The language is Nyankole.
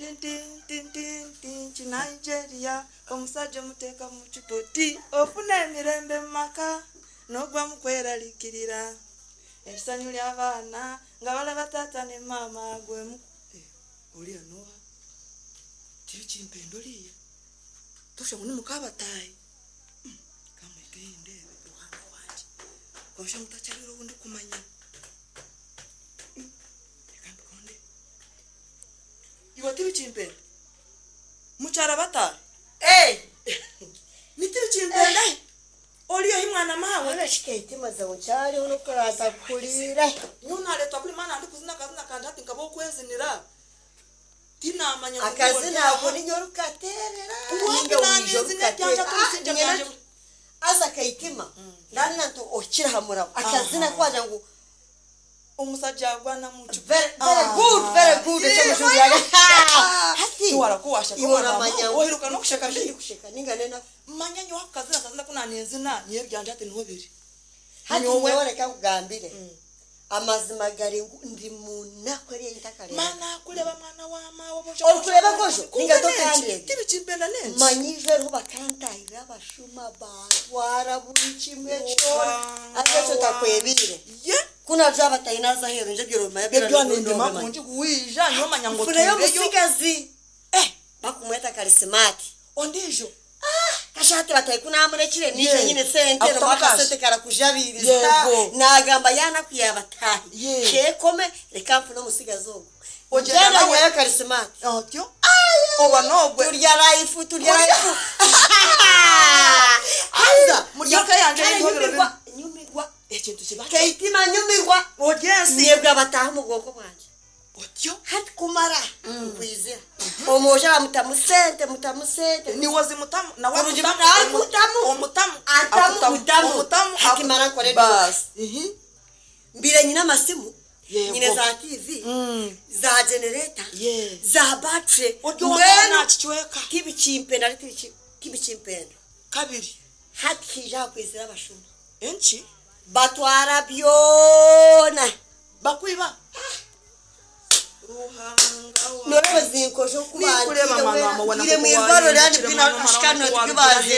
Tintintintintinki Nigeria omusajja omuteeka mu kipoti ofuna emirembe mu maka n'ogwamu kweraliikirira essanyu ly'abaana nga balaba taata ne maama gwemu oriya n'oha tibikimpenda oriya toshusha ngu ni mukabataahi kamuhike haihi ndeebe Ruhanga wangye kwonka ngu takyariire ou ndikumanya. Reka mbikonde. Iwe tibikimpenda mukyara bataahi ni tibikimpenda ori ohi mwana maawe. Mbwenu shi Keitima zawe nkyariho n'okuraza kuhuriire. Nyowe nareetwa kuri maana ndikuzina akazina kangye hati nkaba ow'okwezinira tinamanya ngu niiwe ori Akazina aha. ako ninye orikukateerera Wapi ninga wija nanezina eryangye orikukateera. ati obusingye Nyine bwangye nti haza Keitima ndamanya nti ohikire aha murabo akazina Aha. ku wagira ngu Omusajja agwana mu ki Very, very good, very good. Ekyo mujungu yaga. Hati. Tiwara ku washeka Iwe omwana oramanya wa oheruka n'okusheka Ndi bi. kusheka ninga n'enaku. Manya nyowe ako kazina kazina ku nanenzina nyowe ebyangye hati niho biri. Hati Nyowe. nyowe reka nkugambire. Amazima gari ngu ndi mu naku eri ei ntakareebaga. Mana kureba mwana wa maawe obu Orikureeba nkojo ninga Kwonka n'enki? tokandeebire. Tibikimpenda n'enki? Manya ijo eriho bakantahirira abashuma bantwara buri kimwe kyona. Ruhanga Haza ekyo ntakwebiire. Ye. Ku naija batahi naaza aheeru nje ebyo noobimanya byona Ebyo nindima noobimanya. kurungi waija nyowe manya ngu Nfuneyo otuureyo. omutsigazi Eh! bakumweta Karisimaati. Ondiijo. Kasha hati batahi ku naamurekire naija Ye. nyine sente Akutamu nomu akasente cash. karakujabiiriza. Yego. Naagamba yaanaku yaabataahi. Ye. Keekome reka nfune omutsigazi ogu. Ogyenda Ngyenda nawe. nyayo Karisimaati. Otyo. Oba n'ogwe. Turya life, turya life. Haza Murya eka yangye kare n'ebihobero bimwe. nyumirwa, nyumirwa. Ekintu kiba Keitima nyumirwa. Ori ensi. Nyebwa abataaha omu bwonko bwangye. Otyo. Hati kumara nkwizira. Omwojo aramutamu sente, mutamu sente. Niwe ozimutamu nawe Kurungi akutamu. arikutamu. Omutamu. Antamu, Akutamu. mutamu. Omutamu. Hati mara nkore eduuka. Baasi. Ihi. Mbaire nyine amasimu, Yego. nyine za TV, za generator, Ye. za battery. Ori ow'amaani Mbwenu naakicweka. tibikimpenda hati tibikimpenda. Kabiri. Hati haija hakwizira abashuma. Enki? Batwara byona. Bakwiba. Ruhanga wa. Noreeba ezi nkojo oku Ninkureeba bantiire mwana wa weena mwana ngiire nk'oku mwirwariro waahindukire ryaani mwana wa ashika mwana nk'oku noti